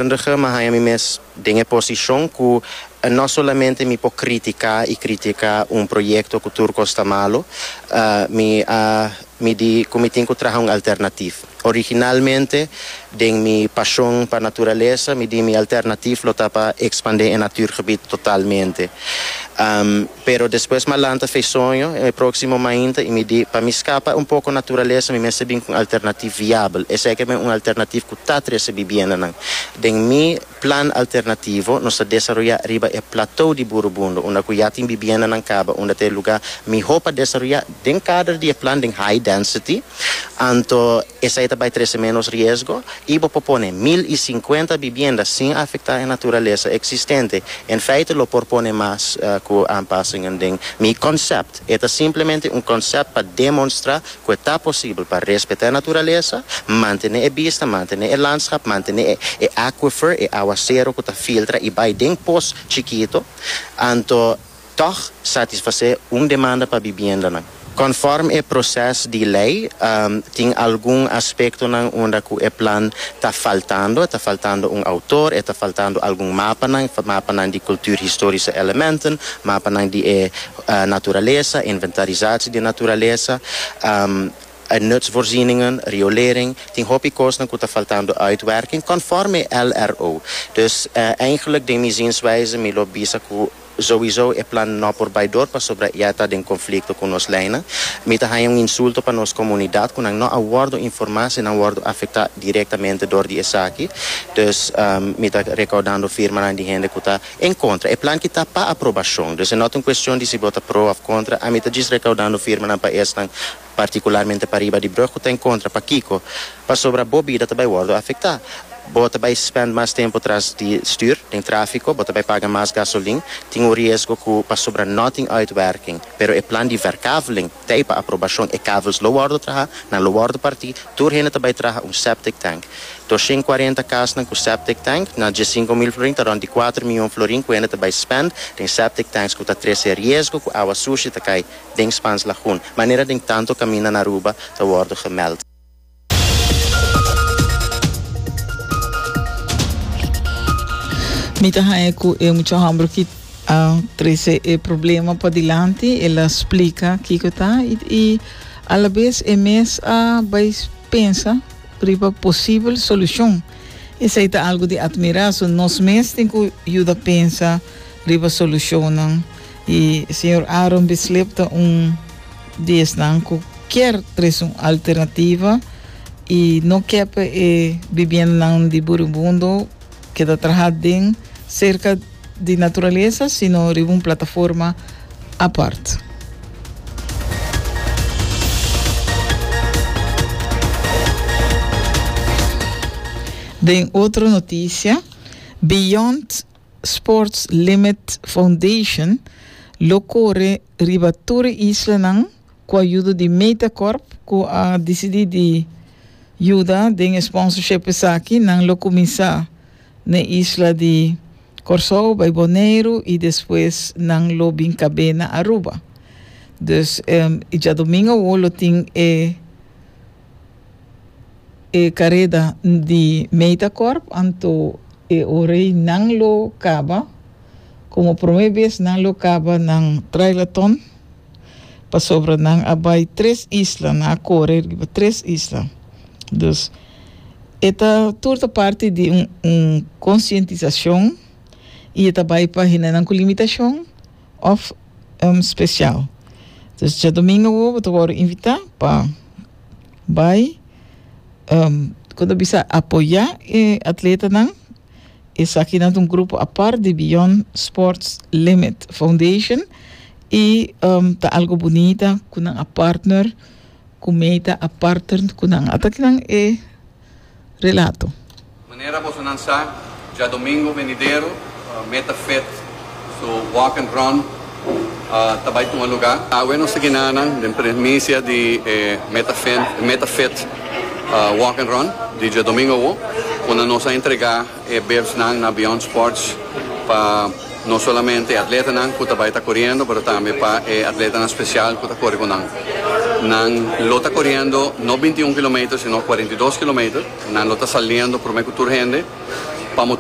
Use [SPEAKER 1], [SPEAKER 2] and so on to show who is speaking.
[SPEAKER 1] Kundige mi a haña mi mes den e posishon ku no solamente mi por kritiká i kritiká un proyekto ku tur kos ta malu, mi a mi di ku mi tin ku traha un alternatif. Originalmente den mi pashon pa naturalesa mi di mi alternatif lo ta pa ekspandé e natuurgebied totalmente. Pero despues mi a lanta fe soño e próksimo mainta i mi di pa mi skapa un poko naturalesa mi mester bin ku un alternatif viabel. Esei ke men un alternatif ku ta trese bibiendanan. Den mi plan alternativo nos ta desaroyá riba e plateau di Burubundo unda ku ya tin bibiendanan kaba unda ta e lugá mihó pa desaroyá den kader di e plan den high density. Anto esei ta bai trese ménos riesgo i bo por pone 1050 bibienda sin afektá e naturalesa eksistente. En feite lo por pone mas ku aanpassingen den mi konsèpt. E ta simplemente un konsèpt pa demonstrá ku e ta posibel pa respetá e naturalesa, mantené e bista, mantené e landschap, mantené e aquifer, e awasero ku ta filtra i bai den pos chikito. Anto Tòg satisfasé un demanda pa bibiendanan. Konfòrm e proses di lei, tin algun aspektonan unda ku e plan ta faltando. E ta faltando un outor, e ta faltando algun mapanan, mapanan di cultuurhistorische elementen, mapanan di e naturalesa, inventarisatie di naturalesa, nutsvoorzieningen, riolering. Tin hopi kosnan ku ta faltando uitwerking konfòrm e LRO. Dus eigenlijk den mi zienswijze mi lo bisa ku. Souiso e plan no por bai dor pasobra ya ta den konflikto ku nos leinan. Mi ta haña un insulto pa nos komunidat ku nan no a wòrdu informá si nan wòrdu afektá direktamente dor di esaki. Dus mi ta rekoudando firmanan di hende ku ta en kontra. E plan ki ta pa aprobashon. Dus e no ta un kuestion di si bo ta pro òf kontra. Ami ta djis rekoudando firmanan pa esnan partikularmente pariba di brug ku ta en kontra. Pakiko? Pasobra bo bida ta bai wòrdu afektá. Bo ta bai spend mas tempu tras di stür den tráfiko, bo ta bai paga mas gasolin, tin un riesgo ku pasobra no tin uitwerking. Pero e plan di verkaveling t'ei pa aprobashon, e kavels lo wòrdu traha, nan lo wòrdu partí, tur hende ta bai traha un septic tank. 240 kasnan ku septic tank na 15,000 florin ta rònt di kuater mion florin ku hende ta bai spend den septic tanks ku ta trese riesgo ku awa sushi ta kai den Spaans Lagoen, manera den tanto kaminda na Aruba ta wòrdu gemeld.
[SPEAKER 2] Mi ta haña ku e mucha hòmber ki a trese e problema padilanti, el a splika kiko ta i i alabes e mes a bai pensa riba posibel solushon. Esei ta algu di atmirá, so nos mes tin ku yuda pensa riba solushonnan i señor Aaron Bislip ta un di esnan ku kier trese un alternativa y no kier pa e bibiendanan di Buribundo keda traha den cerca di naturalesa sino riba un plataforma apart. Den otro noticia, Beyond Sports Limit Foundation lo core riba tur e islanan Ku ayudo di Metacorp ku a disidí di yuda den e sponsorship esaki, nan lo kuminsá n'e isla di Kòrsou, bai Boneiru i despues nan lo bin kab'é na Aruba. Dus e djadumingu awor lo tin e e kareda di Metacorp, anto e ora ei nan lo kaba, komo promé bes nan lo kaba nan trailaton. Pasobra nan a bai tres isla, nan a kore riba tres isla. Dus, e ta tur ta parti di un un konsientisashon i e ta bai pa hendenan ku limitashon òf spesial. Dus djadumingu awor bo ta wòrdu invitá pa bai ku ta bisa apoyá e atletanan. Esakinan ta un grupo apart di Beyond Sports Limit Foundation i ta algo bunita ku nan a partner ku meta a partner ku nan. Ata kinan e relato.
[SPEAKER 3] Manera bosonan sa, djadomingo venidero Meta Fit su Walk and Run ta bai tuma lugá. Awe nos ta ginanan den premisia di e Meta Meta Fit Walk and Run di djadomingo awo, unda nos a entregá e bibsnan na Beyond Sports pa no solamente e atletanan ku ta bai ta koriendo, pero tambe pa e atletanan spesial ku ta kore ku nan. Nan lo ta koriendo no 21 kilometer sino 42 kilometer. Nan lo ta saliendo promé ku tur hende.